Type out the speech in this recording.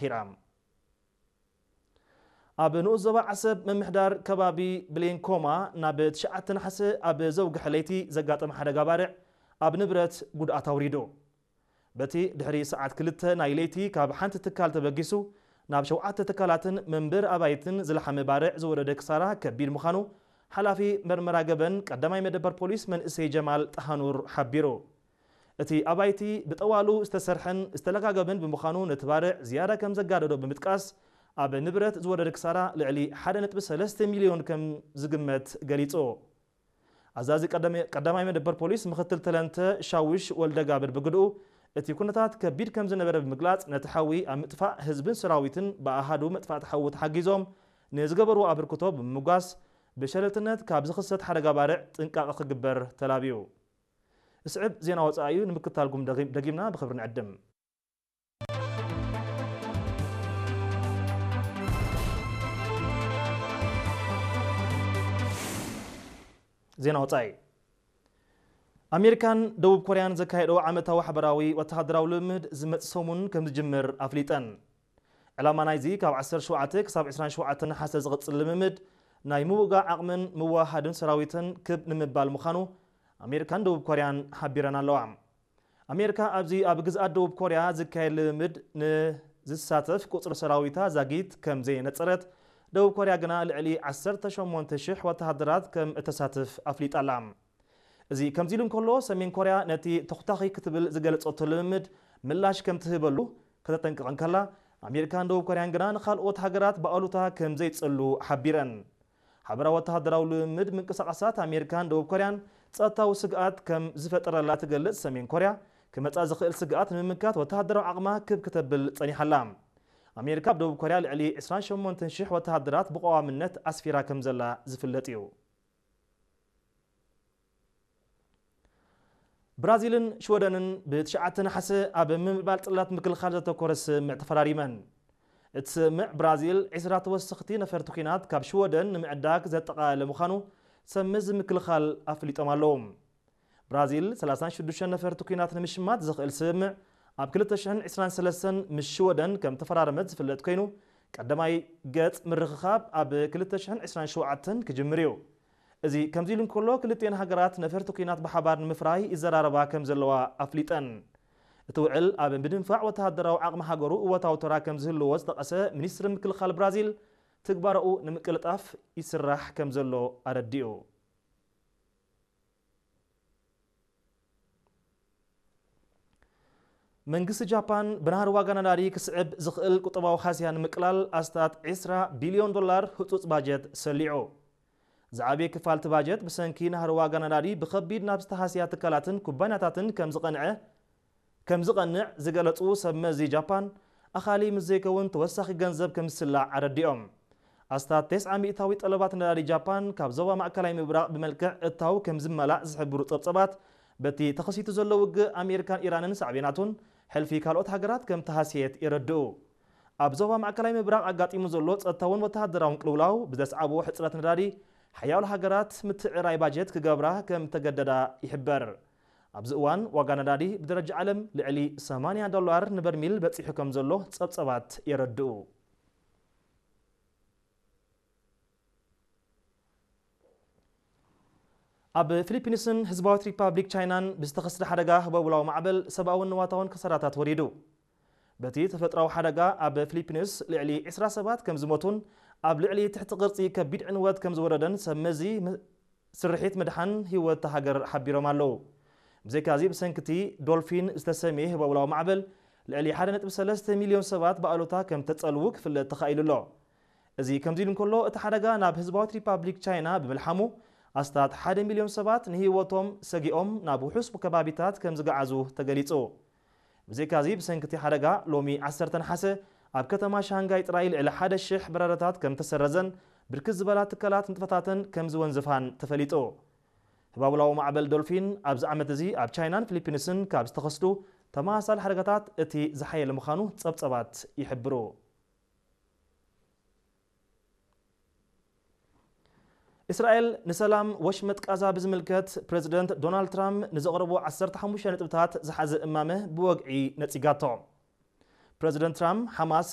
ሂራም። ኣብ ንኡስ ዞባ ዓሰብ ምምሕዳር ከባቢ ብሌንኮማ ናብ ትሽዓተ ነሓሰ ኣብ ዘውግሐ ለይቲ ዘጋጠመ ሓደጋ ባርዕ ኣብ ንብረት ጉድኣት ኣውሪዱ። በቲ ድሕሪ ሰዓት ክልተ ናይ ለይቲ ካብ ሓንቲ ትካል ተበጊሱ ናብ ሸውዓተ ትካላትን መንበሪ ኣባይትን ዝለሓመ ባርዕ ዝወረደ ክሳራ ከቢድ ምዃኑ ሓላፊ መርመራ ገበን ቀዳማይ መደበር ፖሊስ መንእሰይ ጀማል ጣሃኑር ሓቢሩ። እቲ ኣባይቲ ብጠዋሉ ዝተሰርሐን ዝተለጋገበን ብምዃኑ ነቲ ባርዕ ዝያዳ ከም ዘጋደዶ ብምጥቃስ ኣብ ንብረት ዝወረደ ክሳራ ልዕሊ ሓደ ነጥቢ ሰለስተ ሚልዮን ከም ዝግመት ገሊጹ። ኣዛዚ ቀዳማይ መደበር ፖሊስ ምክትል ተለንተ ሻውሽ ወልደጋብር ብግድኡ እቲ ኩነታት ከቢድ ከም ዝነበረ ብምግላጽ ነቲ ሓዊ ኣብ ምጥፋእ ህዝብን ሰራዊትን ብኣሃዱ መጥፋእቲ ሓዊ ተሓጊዞም ንዝገበርዎ ኣበርክቶ ብምምጓስ ብሸለልትነት ካብ ዝኽሰት ሓደጋ ባርዕ ጥንቃቐ ክግበር ተላብዩ። ስዕብ ዜና ወጻኢ እዩ ንምክታልኩም ደጊምና ብኽብሪ ንዕድም። ዜና ወጻኢ። ኣሜሪካን ደቡብ ኮርያን ዘካየዶ ዓመታዊ ሓበራዊ ወተሃደራዊ ልምምድ ዝመጽእ ሰሙን ከም ዝጅምር ኣፍሊጠን። ዕላማ ናይዚ ካብ ዓሰርተ ሸውዓተ ክሳብ ዕስራን ሸውዓተን ነሓሰ ዝቕጽል ልምምድ ናይ ምውጋእ ዓቕምን ምውሃድን ሰራዊትን ክብ ንምባል ምዃኑ ኣሜሪካን ደቡብ ኮርያን ሓቢረን ኣለዋ። ኣሜሪካ ኣብዚ ኣብ ግዝኣት ደቡብ ኮርያ ዝካየድ ልምምድ ንዝሳተፍ ቁጽሪ ሰራዊታ ዛጊት ከም ዘየነጸረት፣ ደቡብ ኮርያ ግና ልዕሊ ዓሰርተ ሸሞንተ ሽሕ ወተሃደራት ከም እተሳትፍ ኣፍሊጣ ኣላ። እዚ ከምዚ ኢሉ እንከሎ፣ ሰሜን ኮርያ ነቲ ተኹታኺ ክትብል ዝገለጸቶ ልምምድ ምላሽ ከም ትህበሉ ከተጠንቅቕ እንከላ፣ ኣሜሪካን ደቡብ ኮርያን ግና ንኻልኦት ሃገራት ብኣሉታ ከም ዘይጸሉ ሓቢረን። ሓበራዊ ወተሃደራዊ ልምምድ ምንቅስቓሳት ኣሜሪካን ደቡብ ኮርያን ጸጥታዊ ስግኣት ከም ዝፈጠረላ ትገልጽ ሰሜን ኮርያ፣ ክመጻ ዝኽእል ስግኣት ንምምካት ወተሃደራዊ ዓቕማ ክብ ክተብል ጸኒሓላ። ኣሜሪካ ኣብ ደቡብ ኮርያ ልዕሊ ዕስራን ሸሞንተን ሽሕ ወተሃደራት ብቐዋምነት ኣስፊራ ከም ዘላ ዝፍለጥ እዩ። ብራዚልን ሽወደንን ብትሽዓተ ነሓሰ ኣብ ምምዕባል ጽላት ምክልኻል ዘተኮረ ስምምዕ ተፈራሪመን። እቲ ስምምዕ ብራዚል ዕስራ ተወሰኽቲ ነፈርቲ ኲናት ካብ ሽወደን ንምዕዳግ ዘጠቓለለ ምዃኑ ሰብ መዚ ምክልኻል ኣፍሊጦም ኣለዉ። ብራዚል ሰላሳን ሽዱሽተን ነፈርቲ ኲናት ንምሽማት ዘኽእል ስምምዕ ኣብ ክልተ ሽሕን ዕስራን ሰለስተን ምስ ሽወደን ከም ተፈራረመት ዝፍለጥ ኮይኑ፣ ቀዳማይ ገጽ ምርኽኻብ ኣብ ክልተ ሽሕን ዕስራን ሸውዓተን ክጅምር እዩ። እዚ ከምዚ ኢሉ እንከሎ፣ ክልቲኤን ሃገራት ነፈርቲ ኲናት ብሓባር ንምፍራይ ይዘራረባ ከም ዘለዋ ኣፍሊጠን። እቲ ውዕል ኣብ ምድንፋዕ ወተሃደራዊ ዓቕሚ ሃገሩ እወታዊ ተራ ከም ዝህልዎ ዝጠቐሰ ሚኒስትሪ ምክልኻል ብራዚል፣ ትግባረኡ ንምቅልጣፍ ይስራሕ ከም ዘሎ ኣረዲኡ። መንግስቲ ጃፓን ብናህሪ ዋጋ ነዳዲ ክስዕብ ዝኽእል ቁጠባዊ ሃስያ ንምቅላል ኣስታት ዕስራ ቢልዮን ዶላር ህጹጽ ባጀት ሰሊዑ። ዝዓበየ ክፋል እቲ ባጀት ብሰንኪ ናህሪ ዋጋ ነዳዲ ብኸቢድ ናብ ዝተሃስያ ትካላትን ኩባንያታትን ከም ዝቐንዐ ከም ዝቐንዕ ዝገለጹ ሰብ መዚ ጃፓን፣ ኣኻሊ ምስ ዘይከውን ተወሳኺ ገንዘብ ከም ዝስላዕ ኣረዲኦም። ኣስታት ተስዓ ሚእታዊ ጠለባት ነዳዲ ጃፓን ካብ ዞባ ማእከላይ ምብራቕ ብመልክዕ እታው ከም ዝመላእ ዝሕብሩ ጸብጸባት፣ በቲ ተኸሲቱ ዘሎ ውግእ ኣሜሪካን ኢራንን ሳዕቤናቱን ሕልፊ ካልኦት ሃገራት ከም ተሃስየት የረድኡ። ኣብ ዞባ ማእከላይ ምብራቕ ኣጋጢሙ ዘሎ ጸጥታውን ወተሃደራውን ቅልውላው ብዘስዓቦ ሕጽረት ነዳዲ፣ ሓያሎ ሃገራት ምትዕራይ ባጀት ክገብራ ከም ተገደዳ ይሕበር። ኣብዚ እዋን ዋጋ ነዳዲ ብደረጃ ዓለም ልዕሊ ሰማንያ ዶላር ንበርሚል በጺሑ ከም ዘሎ ጸብጸባት የረድኡ። ኣብ ፊሊፒንስን ህዝባዊት ሪፓብሊክ ቻይናን ብዝተኸስተ ሓደጋ ህቦብላዊ ማዕበል ሰብኣውን ንዋታውን ከሳራታት ወሪዱ። በቲ ተፈጥሮኣዊ ሓደጋ ኣብ ፊሊፒንስ ልዕሊ ዕስራ ሰባት ከም ዝሞቱን ኣብ ልዕሊ ትሕቲ ቅርጺ ከቢድ ዕንወት ከም ዝወረደን ሰብ መዚ ም-፣ ስርሒት ምድሓን ህይወት እታ ሃገር ሓቢሮም ኣለዉ። ብዘይካዚ ብሰንኪ እቲ ዶልፊን ዝተሰምየ ህቦብላዊ ማዕበል ልዕሊ ሓደ ነጥቢ ሰለስተ ሚልዮን ሰባት ብኣሉታ ከም ተጸልዉ ክፍለጥ ተኻኢሉ ኣሎ። እዚ ከምዚ ኢሉ እንከሎ፣ እቲ ሓደጋ ናብ ህዝባዊት ሪፓብሊክ ቻይና ብምልሓሙ ኣስታት ሓደ ሚልዮን ሰባት ንህይወቶም ሰጊኦም ናብ ውሑስ ከባቢታት ከም ዝገዓዙ ተገሊጹ። ብዘይካዚ ብሰንኪ እቲ ሓደጋ ሎሚ ዓሰርተ ነሓሰ ኣብ ከተማ ሻንጋይ ጥራይ ልዕሊ ሓደ ሽሕ በረራታት ከም ተሰረዘን ብርክት ዝበላ ትካላት ንጥፈታተን ከም ዝወንዘፋን ተፈሊጡ። ህባብላዊ ማዕበል ዶልፊን ኣብዚ ዓመት እዚ ኣብ ቻይናን ፊሊፒንስን ካብ ዝተኸስቱ ተመሳሳሊ ሓደጋታት እቲ ዝሓየለ ምዃኑ ጸብጸባት ይሕብሩ። እስራኤል ንሰላም ወሽመጥ ቃዛ ብዝምልከት ፕረዚደንት ዶናልድ ትራምፕ ንዘቕረቦ ዓሰርተ ሓሙሽተ ነጥብታት ዝሓዘ እማመ ብወግዒ ነጺጋቶ። ፕረዚደንት ትራምፕ ሓማስ